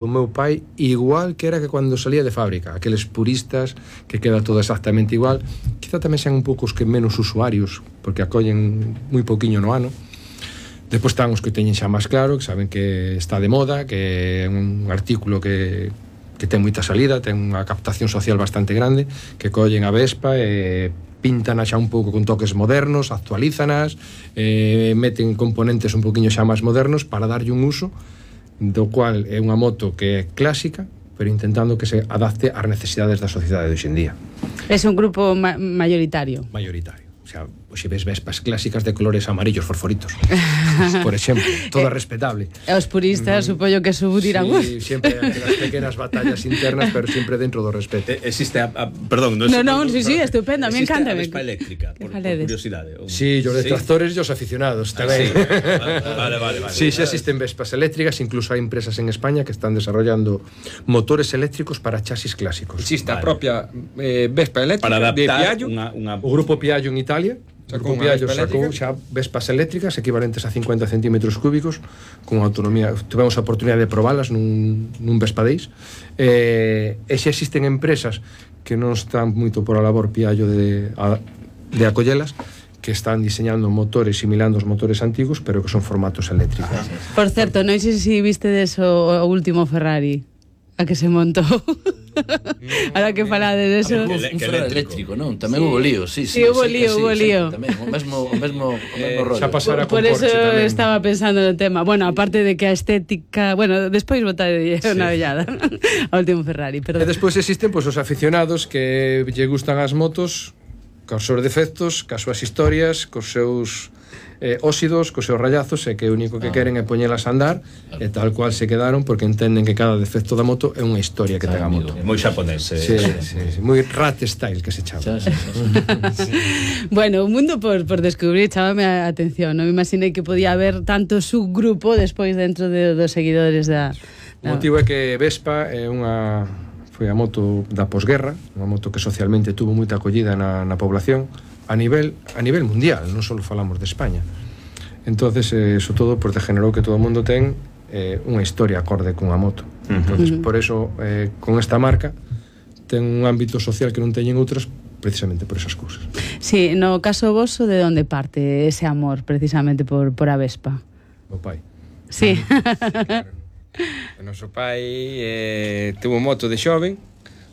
o meu pai igual que era que cando salía de fábrica, aqueles puristas que queda todo exactamente igual, quizá tamén sean un pouco os que menos usuarios, porque acollen moi pouquiño no ano. Depois están os que teñen xa máis claro, que saben que está de moda, que é un artículo que ten moita salida, ten unha captación social bastante grande, que collen a Vespa e pintan xa un pouco con toques modernos, actualízanas, meten componentes un poquinho xa máis modernos para darlle un uso, do cual é unha moto que é clásica, pero intentando que se adapte ás necesidades da sociedade de hoxe en día. É un grupo mayoritario. Mayoritario. O sea, hoxe ves Vespas clásicas de colores amarillos fosforitos, por exemplo, toda respetable. E os puristas, supoño que dirán... Sí, sempre hai as pequenas batallas internas, pero sempre dentro do respeto. Existe perdón, sí, estupendo, a mí encanta. Existe a Vespa eléctrica, por curiosidade. Sí, os detractores e os aficionados tamén. Vale. Sí, xa existen Vespas eléctricas, incluso hai empresas en España que están desarrollando motores eléctricos para chasis clásicos. Existe a propia Vespa eléctrica de Piaggio, o grupo Piaggio en Italia. O grupo Piaggio sacou xa Vespas eléctricas equivalentes a 50 centímetros cúbicos con autonomía. Tivemos a oportunidade de probalas nun Vespa Days, e xa existen empresas que non están moito por a labor Piaggio de acollelas, que están diseñando motores similando os motores antigos, pero que son formatos eléctricos. Por certo, non sei se vistedes o último Ferrari a que se montou. Ahora que falade deso. Un Ferrari eléctrico, non? Tamén hubo lío, sí. Hubo lío. Tamén, o mesmo rollo. Xa pasara con Por eso Porsche tamén. estaba pensando no tema. Bueno, aparte de que a estética... Bueno, despois botade unha ollada ao último Ferrari, perdón. E despois existen os aficionados que lle gustan as motos cos seus defectos, cas súas historias, cos seus óxidos, cos seus rayazos, e que o único que queren é poñelas a andar, e tal cual se quedaron, porque entenden que cada defecto da moto é unha historia que ten a moto. Moi xaponés. Sí, moi rat style que se chama. Bueno, un mundo por descubrir, chámame a atención. Non me imaginei que podía haber tanto subgrupo despois dentro dos seguidores da... O motivo é que Vespa foi a moto da posguerra, unha moto que socialmente tuvo moita acollida na población a nivel mundial, non só falamos de España. Entonces, eso todo degenerou que todo o mundo ten unha historia acorde cunha moto. Entonces, por eso, con esta marca ten un ámbito social que non teñen outras, precisamente por esas cousas. Sí, no caso voso, de onde parte ese amor precisamente por a Vespa? O pai. Sí. Claro. O noso pai tuvo moto de xoven,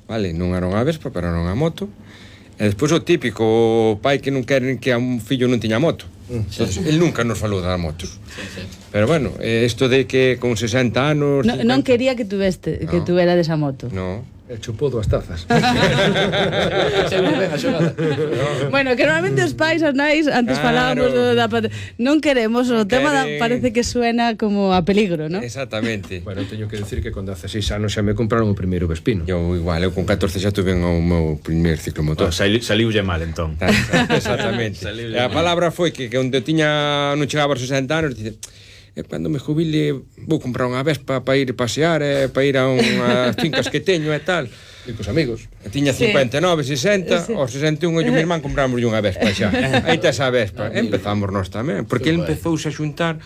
vale, non era unha Vespa, pero era unha moto. E despois o típico, o pai que non quere que a un fillo non tiña moto. El nunca nos falou das motos. Pero bueno, isto de que con 60 anos... Non quería que tuvera desa moto. No. Chupou dúas tazas. Bueno, que normalmente os pais, os nais, antes falábamos da non queremos, o tema parece que suena como a peligro, ¿no? Exactamente. Bueno, teño que decir que con 16 anos xa me compraron o primeiro Vespino. Eu igual, eu con 14 xa tuve o meu primer ciclomotor. Saliulle mal, entón. Exactamente. E a palabra foi que onde non chegaba aos 60 anos, dice... cando me jubile vou comprar unha Vespa para ir pasear, para ir a unhas fincas que teño e tal. E cos amigos. Tiña 59, 60, aos 61 e o meu irmán compramos unha Vespa xa. Aí tes a Vespa. Empezamos nós tamén, porque ele empezouse a xuntar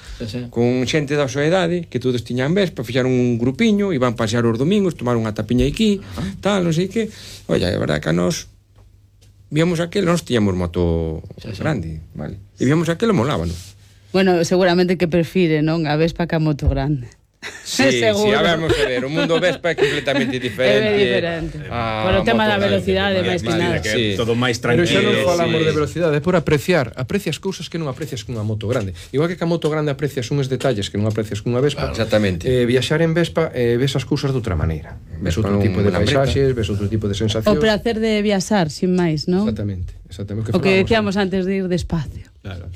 con xente da súa idade, que todos tiñan Vespa, fixaron un grupiño, iban pasear os domingos, tomar unha tapiña aquí, tal, non sei que. Olla, é verdade que a nós víamos aquel, nós tiñamos moto grande, vale? E víamos aquel e molábanos. Bueno, seguramente que prefire, non? A Vespa que a moto grande. Sí, a ver, o mundo Vespa é completamente diferente. É diferente. Por o tema da velocidade, máis que nada. Todo máis tranquilo. Pero xa non falamos de velocidade, é por aprecias cousas que non aprecias cunha moto grande. Igual que a moto grande aprecias uns detalles que non aprecias cunha Vespa. Exactamente. Viaxar en Vespa ves as cousas de outra maneira. Ves outro tipo de paisaxes, ves outro tipo de sensacións. O placer de viaxar, sin máis, non? Exactamente. O que decíamos antes de ir despacio. Claro,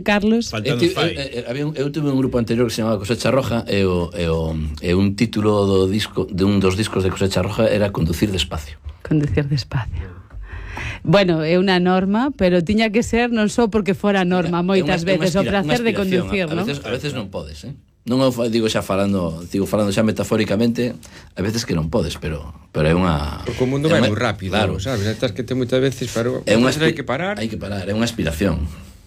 Carlos? Eu tuve un grupo anterior que se chamaba Cosecha Roja e un título de un dos discos de Cosecha Roja era Conducir despacio. Conducir despacio. Bueno, é unha norma, pero tiña que ser non só porque fora norma moitas veces, o placer de conducir, non? A veces non podes, Non digo xa falando xa metafóricamente, a veces que non podes, pero é unha... Porque o mundo vai moi rápido, claro, sabes? Estás que te moitas veces, pero hai que parar. Hai que parar, é unha aspiración.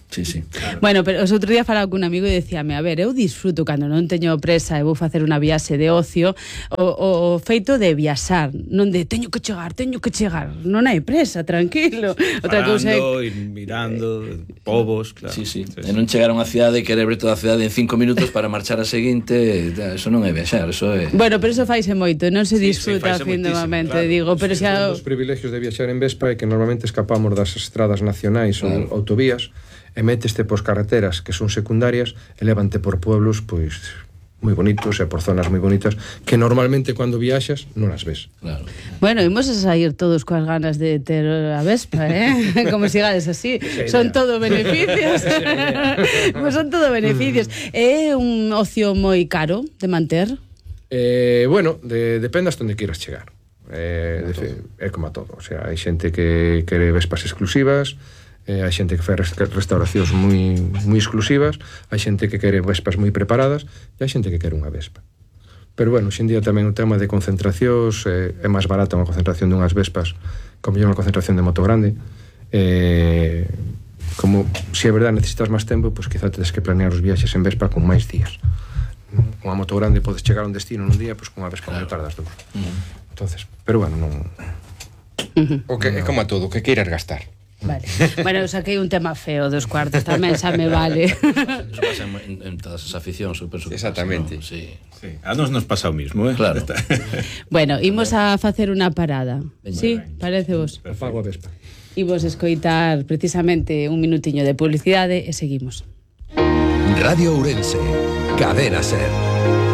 Sí, sí. Bueno, pero os outro día falaba cun amigo e decíame, a ver, eu disfruto cando non teño presa e vou facer unha viaxe de ocio o feito de viaxar, non de teño que chegar, non hai presa, tranquilo. Outra cousa é ir mirando povos, claro. Sí. E non chegar a unha cidade e querer ver toda a cidade en 5 minutos para marchar a seguinte, eso non é viaxar, eso é... Bueno, pero eso faise moito, non se disfruta finalmente, claro. Digo, pero xa... Os privilegios de viaxar en Vespa é que normalmente escapamos das estradas nacionais ou autovías e meteste pos carreteras que son secundarias e levante por pueblos pois moi bonitos e por zonas moi bonitas que normalmente cando viaxas non as ves. Claro. Bueno, imos a sair todos coas ganas de ter a Vespa, como sigades así. Son todo beneficios. Son todo beneficios. É un ocio moi caro de manter? Bueno, depende hasta onde queiras chegar. É como a todo. O sea, hai xente que quere Vespas exclusivas, hai xente que fai restauracións moi exclusivas, hai xente que quere Vespas moi preparadas e hai xente que quere unha Vespa. Pero bueno, xendía tamén o tema de concentracións, é máis barata unha concentración dunhas Vespas como unha concentración de moto grande. Como se é verdade necesitas máis tempo, pois quizá tedes que planear os viaxes en Vespa con máis días. Con unha moto grande podes chegar a un destino nun día, pois con unha Vespa non tardas dous. Entonces, pero bueno, non... O que é como a todo, o que queiras gastar. Vale. Bueno, eu saquei un tema feo dos cuartos, tamén xa me vale. Eso pasa en todas as aficións, super. Exactamente. ¿No? Sí. A nos pasa o mismo, Claro. Bueno, imos a facer unha parada. Sí, parece vos. Apago a Vespa. Imos escoitar precisamente un minutiño de publicidade e seguimos. Radio Ourense, Cadena Ser.